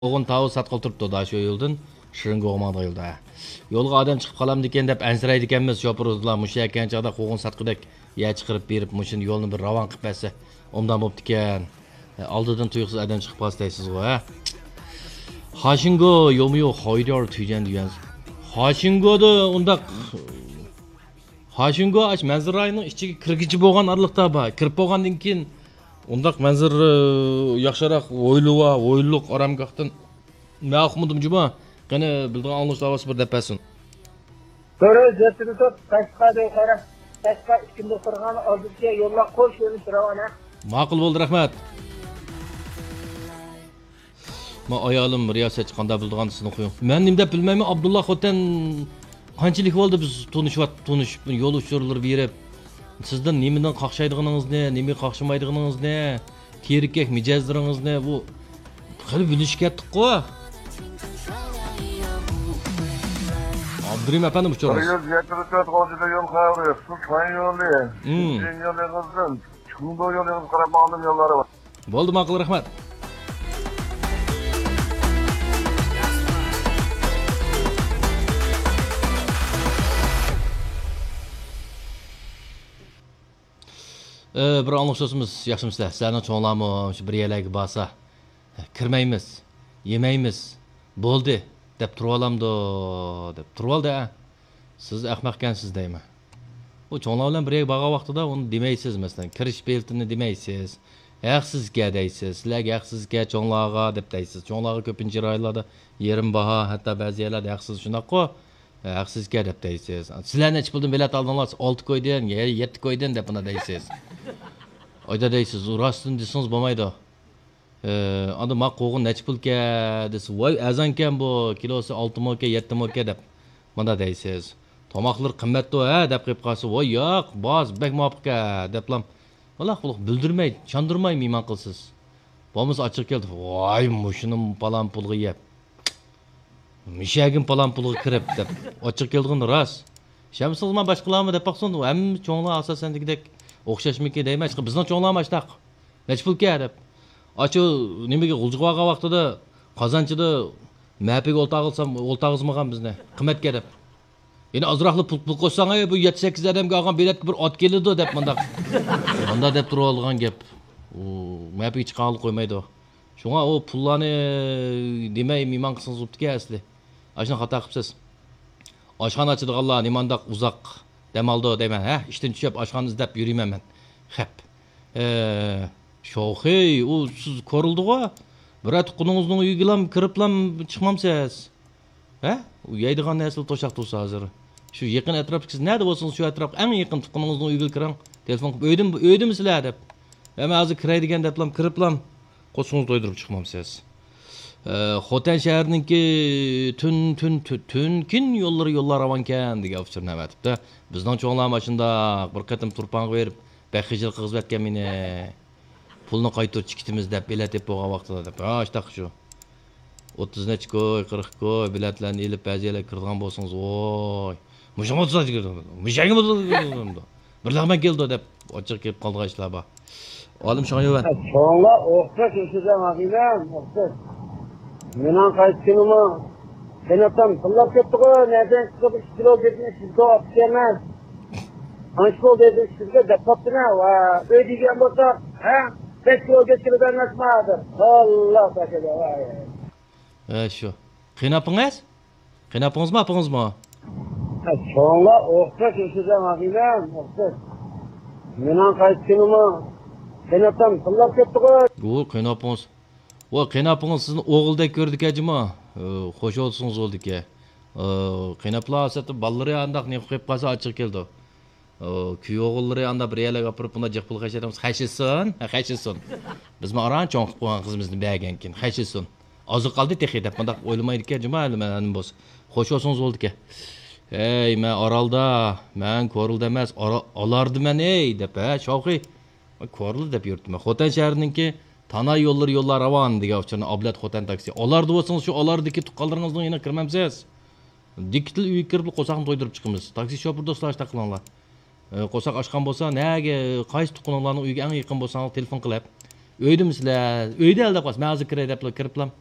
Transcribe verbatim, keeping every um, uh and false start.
قوغۇن تاۋۇز ساتقىلى تۇرۇپتۇ دا، شۇ يولدىن شىرىنگوغا ماڭىدىغان يولدا. ھە. يولغا ئادەم چىقىپ قالامدىكىن دەپ ئەنسىرەيدىكەنمىز، شوپۇر ئۇستىلار مۇشۇ يەكەن چاغدا قوغۇن ساتقۇدەك يەر چىقىرىپ بېرىپ، مۇشۇنى يولنى بىر راۋان قىلىپ بەرسە، ئوبدان بوپتىكەن. ھە، ئالدىدىن تۇيۇقسىز ئادەم چىقىپ قالسا دەيسىزغۇ، ھە؟ خاشىنگو يومۇ يوق، خايدار تۈيجەن دېگەن. خاشىنگودا ئۇنداق، خاشىنگو ئاش مەنزىرە رايونىنىڭ ئىچىگە كىرگۈچى بولغان ئارىلىقتا بار. كىرىپ بولغاندىن كېيىن ئۇنداق مەنزىرە، ياخشىراق ھويلا بار، ھويلىلىق ئارامگاھتىن. مەن ئۇقمىدىم جۇما. قېنى، بىلىدىغان ئاڭلىغۇچىلار بولسا بىر دەپ بەرسۇن. دۇرۇس، يەتتە تۇتۇپ، قەشقەر دەي قارا. قەشقەر ئىككى مۇخبىرخانا ئالدىدىكى يوللار قوش يۆنىلىش راۋانە. ماقۇل بولدى، رەھمەت. ما ئايالىم رىياسەتچى، قانداق بىلىدىغان سىزنىڭ خۇيۇڭ. مەن نېمە دەپ بىلمەيمەن، ئابدۇللا خوتەن قانچىلىك بولدى بىز تونۇشۇۋات-، تونۇشۇپ، يول ئۇچۇرلىرى بېرىپ. سىزدىن نېمىدىن قاقشايدىغىنىڭىزنى، نېمىگە قاقشىمايدىغىنىڭىزنى، تېرىككەك مىجەزلىرىڭىزنى، بۇ خېلى بىلىشىپ كەتتۇققۇ. ئابدۇرېھىم ئەپەندىم، بىر ئۇچۇرىڭىز. يۈز يەتمىش تۆت غوجىدا يول خەۋىرى، سۇ چاي يولى، مم. شىنجىن يولى قىزدىن، چۇڭدۇ يولى قىزغا قاراپ ماڭدىم يوللارى بار. بولدى، ماقۇل، رەھمەت. ئى، بىر ئاڭلىغۇچىمىز، ياخشىمۇسىلەر؟ سىلەرنىڭ چوڭلارمۇ شۇ بىر يەرلەرگە بارسا، كىرمەيمىز، يېمەيمىز، بولدى دەپ تۇرۇۋالامدۇ؟ دەپ تۇرۇۋالدى، ئە. سىز ئەخمەقكەنسىز دەيمەن. ئۇ چوڭلار بىلەن بىر يەرگە بارغان ۋاقتىدا ئۇنى دېمەيسىز، مەسىلەن، كىرىش بېلىتىنى دېمەيسىز. ھەقسىزكەن دەيسىز. سىلەرگە ھەقسىزكەن چوڭلارغا دەپ دەيسىز. چوڭلارغا كۆپىنچە رايونلاردا يېرىم باھا، ھەتتا بەزى يەرلەردە ھەقسىز، شۇنداققۇ؟ ھەقسىزكەن دەپ دەيسىز. سىلەر نەچچە پۇلدىن بېلەت ئالدىڭلار؟ ئالتە كويدىن، يە-، يەتتە كويدىن دەپ مانا دەيسىز. ئايدا دەيسىز، راستىنى دېسىڭىز بولمايدۇ. ئى، ئاندا ما قوغۇن نەچچە پۇلكە دېسە، ۋاي، ئەرزانكەن بۇ، كىلوسى ئالتە موكە، يەتتە موكە دەپ مانا دەيسىز. تاماقلىرى قىممەتتۇ ھە دەپ قېلىپ قالسا، ۋاي ياق، باز بەك مۇۋاپىقكە دەپلا، ۋالا قۇلۇق بىلدۈرمەي، چاندۇرماي مېھمان قىلسىز. بولمىسا ئاچچىقى كەلدى، ۋاي مۇشۇنى پالان پۇلغا يەپ، مۇشەگىم پالان پۇلغا كىرىپ دەپ ئاچچىقى كەلىدىغىنى راست. ئىشەنمىسىڭىز مانا باشقىلارمۇ دەپ باقسۇن، ھەممە چوڭلار ئاساسەن دېگۈدەك ئوخشاشمىكىن دەيمەن، بىزنىڭ چوڭلارمۇ ئاشتاق. نەچچە پۇلكە دەپ. ئاچۇ نېمىگە غۇلجىغا بارغان ۋاقتىدا قازانچىدا مەپىگە ئولتۇرغۇزسام، ئولتۇرغۇزمىغان بىزنى. قىممەتكە دەپ. يەنە ئازراقلا پۇل، پۇل قوشساڭ، ئەي، بۇ يەتتە سەككىز ئادەمگە ئالغان بېلەتكە بىر ئات كېلىدۇ دەپ مانداق. مانداق دەپ تۇرۇۋالىدىغان گەپ. ئۇ مەپىگە چىقارغىلى قويمايدۇ. شۇڭا ئۇ پۇللارنى دېمەي مېھمان قىلسىڭىز بوپتىكەن ئەسلى. ئاشۇنى خاتا قىپسىز. ئاشخانا ئاچىدىغانلار نېمانداق ئۇزاق دەم ئالىدۇ دەيمەن، ھە؟ ئىشتىن چۈشۈپ ئاشخانا ئىزدەپ يۈرىمەن مەن. خەپ. ئە، شوخىي، ئۇ سىز كورلىدىغۇ؟ بىرەر تۇغقىنىڭىزنىڭ ئۆيىگىلام كىرىپلام چىقمامسىز؟ ھە؟ ئۇ يەيدىغان نەرسىلەر توشاق تۇرسا ھازىر. شۇ يېقىن ئەتراپتىكى سىز نەدە بولسىڭىز، شۇ ئەتراپقا ئەڭ يېقىن تۇغقىنىڭىزنىڭ ئۆيىگىلا كىرىڭ. تېلېفون قىلىپ، «ئۆيدىمۇ، ئۆيدىمۇسىلەر؟» دەپ. ھە، مەن ھازىر كىرەي دېگەن دەپلام كىرىپلام، قورسىقىڭىزنى تويدۇرۇپ چىقمامسىز. ئە، خوتەن شەھىرىنىڭكى تۈن، تۈن، تۈ-، تۈنكۈن يوللىرى يوللار راۋانكەن دېگەن ئۇچۇرنى ئەۋەتىپتۇ. بىزنىڭ چوڭلارمۇ ئاشۇنداق بىر قېتىم تۇرپانغا بېرىپ، بەك خىجىل قىلغۇزۇۋەتكەن مېنى. پۇلنى قايتۇرۇپ چىقىتىمىز دەپ بېلەت ئېلىپ بولغان ۋاقتىدا دەپ. ھا، ئاشتاق شۇ. ئوتتۇز نەچچە كوي، قىرىق كوي بېلەتلەرنى ئېلىپ بەزى يەرلەرگە كىرىدىغان بولسىڭىز، ۋوي. مۇشۇڭغا تۇتاش كىرىدۇ. مۇشەگە بولىدۇ. بىر لەغمەن كېلىدۇ دەپ ئاچچىق كېلىپ قالىدىغان ئىشلار بار. ئالىم شاڭيۈەن. چوڭلار ئوخشاش ياشىسا ماقۇلدەم، ئوخشاش. مېنىڭ قايتقىنىمۇ قېناتام تىللاپ كەتتىغۇ، نەدىن چىقىپ ئىككى كىلو گۆشنى ئىككى كىلو ئاپتىكەنمەن. قانچە بولدى دېدى، ئىككى كىلو دەپ قاپتىمەن. ۋا، ئۆي دېگەن بولسا، ھە؟ بەش كىلو گۆش كىلو بەرمەسمۇ ھازىر. ئاللا تاكىدا، ۋاي. ھە، شۇ. قېنى ئاپىڭىز؟ قېنى ئاپىڭىزمۇ، ئاپىڭىزمۇ؟ ھە، چوڭلار ئوخشاش ياشىسا ماقۇلدەم، ئوخشاش. مېنىڭ قايتقىنىمۇ قېناتام تىللاپ كەتتىغۇ. ئۇ قېنى ئاپىڭىز. ۋاي، قېنى ئاپىڭىز سىزنى ئوغۇلدەك كۆرىدىكەن جۇما. ئى، خوش بولسىڭىز بولىدىكەن. ئى، قېنى ئاپىلار ئاساسەن بالىلىرى ئانداق نېمە قىلىپ قالسا ئاچچىقى كېلىدۇ. ئى، كۈيئوغۇللىرى ئاندا بىر يەرلەرگە ئاپىرىپ بۇنداق جىق پۇل خەجلەتمىسە خەجلىسۇن. ھە، خەجلىسۇن. بىزمۇ ئاران چوڭ قىلىپ قويغان قىزىمىزنى بەرگەنكىن خەجلىسۇن. ئازى قالدى تېخى دەپ مۇنداق ئويلىمايدىكەن جۇما ھەلى مەن بولسا. خوش بولسىڭىز بولىدىكەن. ھەي، مەن ئارالدا، مەن كورلىدا ئەمەس، ئارا-، ئالاردا مەن، ھەي، دەپ، ھە، شاۋقى. كورلا دەپ يۈرۈپتىمەن. خوتەن شەھىرىنىڭكى تاناي يوللىرى يوللار راۋان دېگەن ئۇچۇرنى ئابلەت خوتەن تاكسى. ئالاردا بولسىڭىز، شۇ ئالاردىكى تۇغقانلىرىڭىزنىڭ يېنىغا كىرمەمسىز؟ دىككىتىلا ئۆيگە كىرىپلا قورساقنى تويدۇرۇپ چىقىمىز. تاكسى شوپۇر دوستلار، ئاشتاق قىلىڭلار. ئە، قورساق ئاچقان بولسا، نەگە، قايسى تۇغقىنىڭلارنىڭ ئۆيىگە ئەڭ يېقىن بولساڭلار، تېلېفون قىلىپ، «ئۆيدىمىسىلەر؟ ئۆيدە» دەپ قالسا، «مەن ھازىر كىرەي» دەپلا كىرىپلا،